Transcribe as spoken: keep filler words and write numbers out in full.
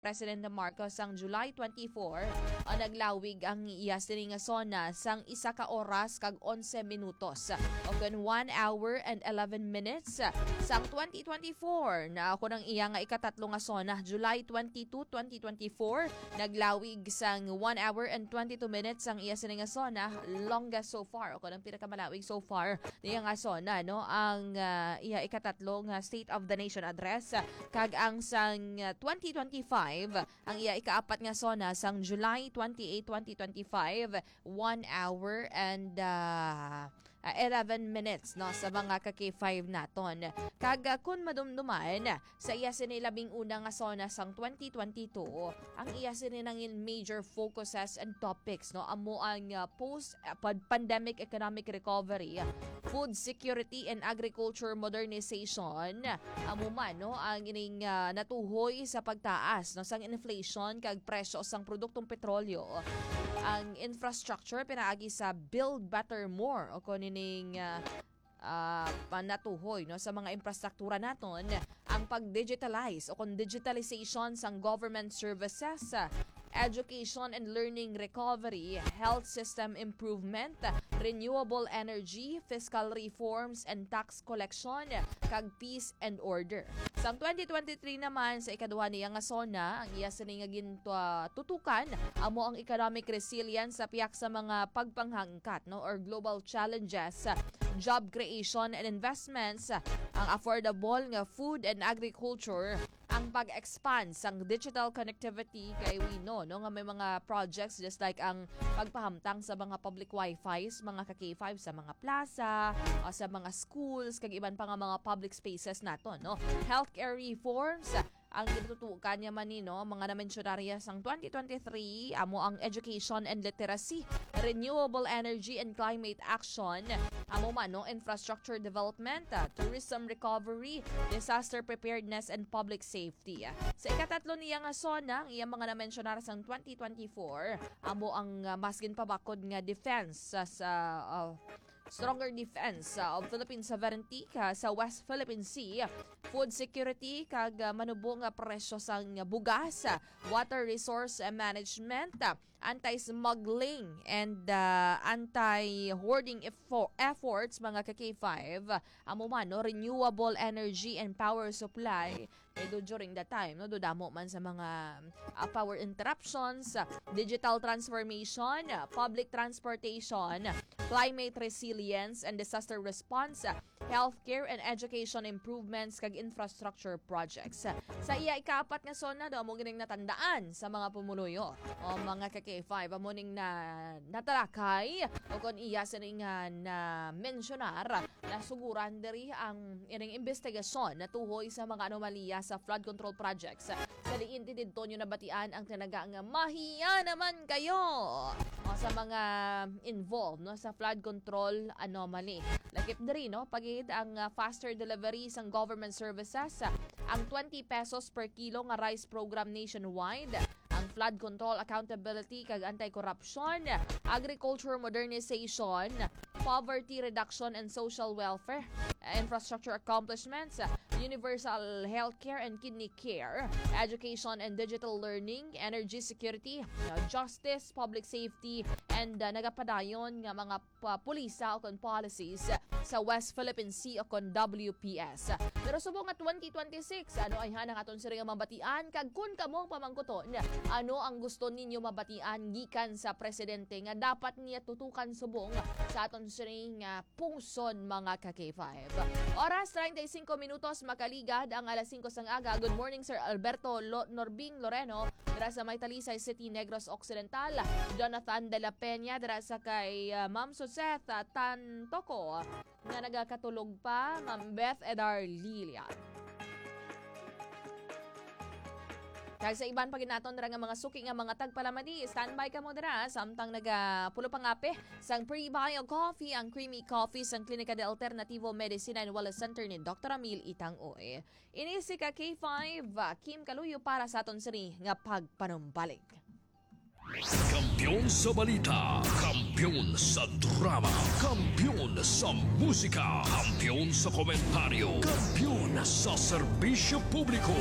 President Marcos sang July twenty-four, ah, naglawig ang iya sini nga SONA sang isa ka oras kag onse minutos, o kon one hour and eleven minutes. Sang twenty twenty-four, na ako ng iya nga ikatatlo nga SONA, July twenty-two, twenty twenty-four, naglawig sang one hour and twenty-two minutes ang iya sini nga SONA, longest so far, o kon ang pinakamalawig so far niya nga SONA, no, ang, ah, iya ikatatlo nga State of the Nation Address, kag ang sang, ah, twenty twenty-five, ang iya ikaapat nga SONA sang July twenty-eight, twenty twenty-five, one hour and, ah, ah, eleven minutes, no, sa mga ka-K five naton. Kag, ah, kun madumduman, sa iya sini labing una nga SONA sang twenty twenty-two, ang iya sini nangin major focuses and topics, no, amo ang, ah, post, ah, pad-, pandemic economic recovery, food security and agriculture modernization, amo man, no, ang ining, ah, natuhoy sa pagtaas, no, sang inflation kag presyo sang produktong petrolyo, ang infrastructure pinaagi sa Build Better More, o kon ining, ah, ah, panatuhoy, no, sa mga infrastruktura naton, ang pag-digitalize o kon digitalization sang government services, ah, education and learning recovery, health system improvement, renewable energy, fiscal reforms and tax collection, kag peace and order. Sang twenty twenty-three naman, sa ikaduha niya nga SONA, ang iya sini nga gintutukan amo ang economic resilience sa pihak sa mga pagpanghangkat, no, or global challenges, job creation and investments, ang affordable nga food and agriculture, ang pag-expand sang digital connectivity, kay we know, no, nga may mga projects just like ang pagpahamtang sa mga public wifi, mga ka-K five sa mga plaza, o sa mga schools, kag iban pa nga mga public spaces naton, no. Healthcare reforms, ang gitutukan niya man ni, no, mga namensyonarya sang twenty twenty-three, amo ang education and literacy, renewable energy and climate action, amo man, no, infrastructure development, ah, tourism recovery, disaster preparedness and public safety. Sa ikatatlo niya nga SONA, ang iyang mga namensyonar sang twenty twenty-four, amo ang, ah, mas ginpabakod nga defense sa, sa, ah, stronger defense, ah, of Philippine sovereignty ka sa West Philippine Sea, food security kag, ah, manubo nga presyo sang bugas, ah, water resource, ah, management, ah, anti-smuggling and, ah, anti-hoarding effo-, efforts, mga ka-K five, amo man, no, renewable energy and power supply. Kay do during that time, no, do damo man sa mga, ah, power interruptions, ah, digital transformation, ah, public transportation, climate resilience and disaster response, ah, healthcare and education improvements, kag infrastructure projects. Sa iya ikaapat nga SONA, do amo gining natandaan sa mga pumuluyo o mga ka-K five, amo ning na, natalakay o kon iya sini nga na-mensionar, nasuguran diri ang ining investigasyon natuhoy sa mga anomalya sa flood control projects. Sa diin ti didto nyo nabatian ang tinaga nga mahiya naman kayo o sa mga involved, no, sa flood control anomaly. Lakip diri, no, pagid ang, ah, faster delivery sang government services, ang twenty pesos per kilo nga rice program nationwide, ang flood control, accountability kag anti-corruption, agriculture modernization, poverty reduction and social welfare, infrastructure accomplishments, universal healthcare and kidney care, education and digital learning, energy security, uh, justice, public safety, and, uh, nagapadayon nga mga pa-, pulisa o kon policies sa West Philippine Sea o kon W P S. Pero subong nga twenty twenty-six, ano ay han ang aton sini nga mabatian? Kag kun kamo ang pamangkuton, ano ang gusto ninyo mabatian gikan sa presidente nga dapat niya tutukan subong sa aton sini nga pungsod, mga ka-K five? Oras, treinta y cinco minutos, makaligad ang alas singko sang aga. Good morning, Sir Alberto Lo-, Norbing Loreno, dira sa may Talisay City, Negros Occidental. Jonathan de la Peña, dira sa kay, ah, Ma'am Suzette, ah, Tantoco, nga nagakatulog pa, Ma'am Beth Edar Lilia. Kag sa iban pa gid naton dira nga mga suki nga mga tagpalamati, standby kamo dira, samtang nagapulo pangape sang Prebio Coffee, ang creamy coffee sang Klinika de Alternativo Medicina and Wellness Center ni Doktor Amil Itang Uy. Ini si ka K five, Kim Kaluyo para sa aton sini nga pagpanumbalik. Kampiyon sa balita, kampiyon sa drama, kampiyon sa musika, kampiyon sa komentaryo, kampiyon sa serbisyo publiko.